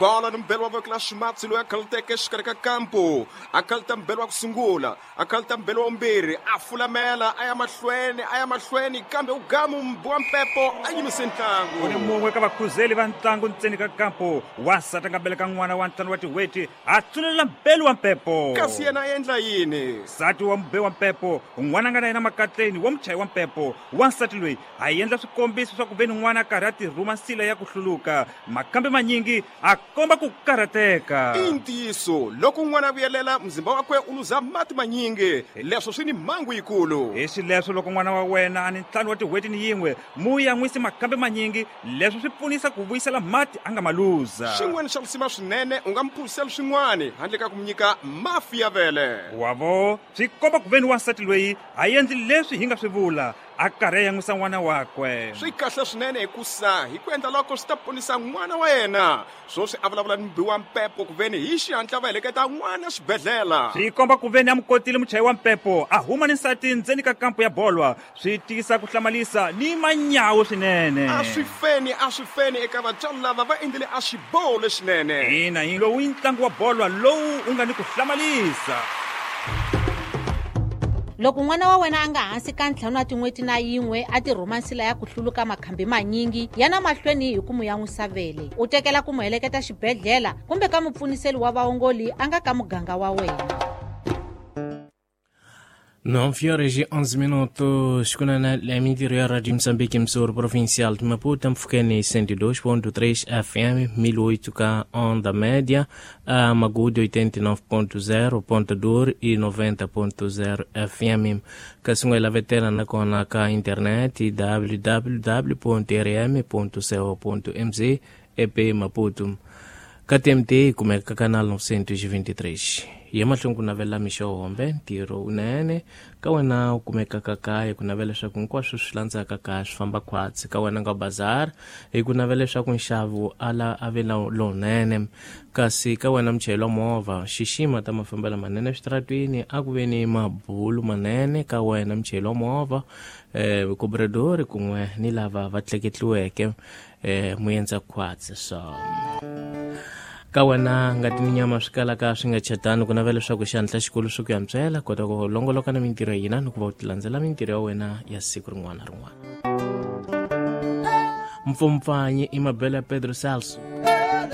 Bola ni mbelo wa voko la ximatsi loyi a khaluteke exikarhi ka kampu, a khaluta mbelo wa ku sungula, a khaluta mbelo wa vumbirhi, a fulamela a ya mahlweni, a ya mahlweni, kambe u gamu mbi wa mpepo a yimise ntlangu. U ni mun'we ka vakhuzeli va ntlangu ntseni ka kampu. Wansati a nga beleka n'wana wa ntlhanu wa tin'hweti, a tsunelela mbelu wa mpepo. Kasi yena a endla yini? Nsati wa mube wa mpepo, n'wana a nga na yena makatleni wa muchayi wa mpepo. Wansati loyi a endla swikombiso swa ku ve ni n'wana a karhi a tirhuma nsila ya ku hluluka. Makambe manyingi a komba ku karhateka. I ntiyiso, loko n'wana a vuyelela, muzimba wakwe u luza mati manyingi. Leswo swi ni mhangu yikulu. Hi xileswo, loko n'wana wa wena a ni ntlhanu wa tin'hweti ni yin'we, mu yan'wisi makambe manyingi. Leswo swi pfunisa ku vuyisela mati a nga ma luza. Xin'wana xa lisima swinene, u nga mu phuziseli swin'wana handle ka ku mu nyika mafi ya vele. Wa vo, swi komba ku ve ni wansati loyi a endli leswi hi nga swi vula, a karhi a yan'wisa n'wana wakwe. Swi kahle swinene hikusa hi ku endla loko swi ta ponisa n'wana wa yena. Swoswi a vulavula ni mubi wa mpepo ku veni hi xihatla va heleketa n'wana xibedhlela. Swi komba ku veni a mu kotile muchayi wa mpepo a huma ni nsati ndzeni ka kampu ya bolwa. Swi tisa ku hlamalisa ni manyawu swinene. A swi feni, a swi feni eka vatswari lava va endlile a xiboho lexinene. Ina, hi lowu i ntlangu wa bolwa lowu wu nga ni ku hlamalisa. Loko n'wana wa wena a nga hansi ka ntlhanu wa tin'hweti na yin'we a tirhuma nsila ya ku hluluka makhambi manyingi, yana mahlweni hi ku mu yan'wisa vele. U tekela ku mu heleketa xibedhlela kumbe ka mupfuniseli wa vaongoli a nga ka muganga wa wena. 9 horas e 11 minutos, kunana la mintirho ya Radio Moçambique Msoro Provincial de Maputo, Mfukeni 102.3 FM, 1008 K onda média, a Magude 89.0 Ponta Dor e 90.0 FM. Kasunguela vetera na kona ka internet www.rm.co.mz EP Maputo. KTMT kumeka canal 923. Ye mahlweni ku navela mixo hombe ntirho wunene ka wena u kumekaka kaya ku navela leswaku hinkwaswo swi landzaka kaya swi famba khwatsi ka wena nga bazar hi ku navela leswaku nxavo ala a ve lowunene kasi ka wena muchayeri wa movha xixima ta mafambelo manene eswitaratwini a ku ve ni mabulu manene ka wena muchayeri wa movha cobrador kun'we ni lava va tleketliweke muendza khwatsi so ka wena ngati ni nyama swi kalaka swi nga chatani ku navela leswaku xandla xikulu swi ku yantswela kota ku longoloka na mintirho ya hina ni ku va u tilandzela mintirho ya wena ya siku rin'wana na rin'wana. Mpfompfanyi i mabelo ya Pedro Celso.